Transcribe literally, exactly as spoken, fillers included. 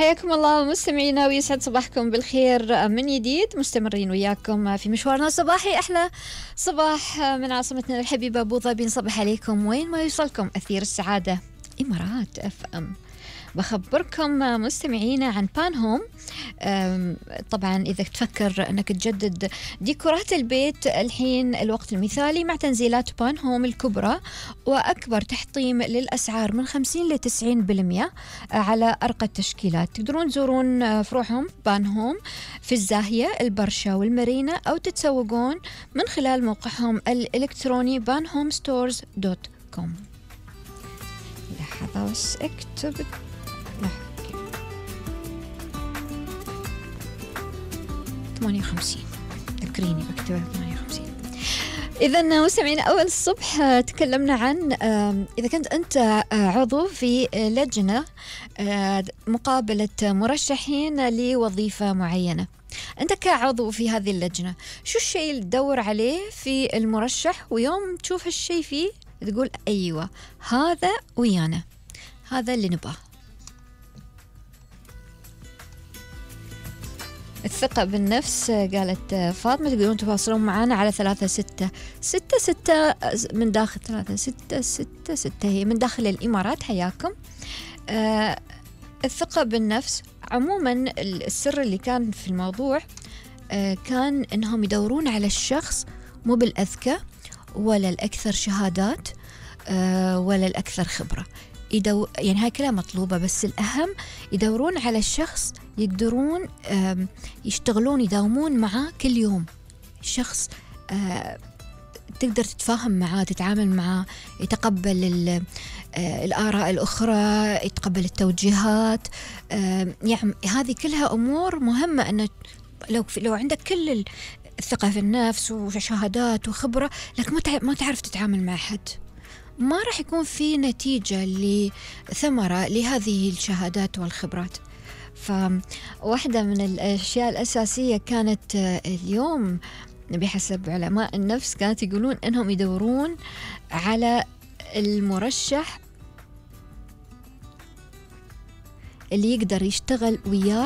حياكم الله مستمعينا ويسعد صباحكم بالخير من جديد. مستمرين وياكم في مشوارنا الصباحي، أحلى صباح من عاصمتنا الحبيبة أبو ظبي. نصبح عليكم وين ما يوصلكم أثير السعادة إمارات أف أم. بخبركم مستمعينا عن بان هوم. طبعا إذا تفكر أنك تجدد ديكورات البيت، الحين الوقت المثالي مع تنزيلات بان هوم الكبرى وأكبر تحطيم للأسعار من خمسين لتسعين بالمئة على أرقى التشكيلات. تقدرون تزورون فروعهم بان هوم في الزاهية، البرشا والمارينا، أو تتسوقون من خلال موقعهم الإلكتروني بان هوم ستورز دوت كوم. لحظة بس اكتب ثمانية وخمسين، ذكريني بكتبها ثمانية وخمسين. إذا مستمعين، أول الصبح تكلمنا عن إذا كنت أنت عضو في لجنة مقابلة مرشحين لوظيفة معينة، أنت كعضو في هذه اللجنة شو الشيء اللي تدور عليه في المرشح، ويوم تشوف هالشيء فيه تقول أيوة هذا ويانا، هذا اللي نبغاه. الثقة بالنفس، قالت فاطمة. تقدرون تواصلون معنا على ثلاثة ستة ستة ستة من داخل ثلاثة ستة ستة ستة، هي من داخل الإمارات. حياكم. آه الثقة بالنفس عموما، السر اللي كان في الموضوع آه كان إنهم يدورون على الشخص مو بالأذكى ولا الأكثر شهادات آه ولا الأكثر خبرة. يدو... يعني هاي كلها مطلوبة، بس الأهم يدورون على الشخص يقدرون يشتغلون يداومون معاه كل يوم. شخص تقدر تتفاهم معاه، تتعامل معاه، يتقبل الآراء الأخرى، يتقبل التوجيهات. يعني هذه كلها أمور مهمة. أن لو لو عندك كل الثقة في النفس وشهادات وخبرة، لكن ما تعرف تتعامل مع حد، ما راح يكون في نتيجة لثمرة لهذه الشهادات والخبرات. فواحدة من الأشياء الأساسية كانت اليوم بحسب علماء النفس، كانت يقولون أنهم يدورون على المرشح اللي يقدر يشتغل وياه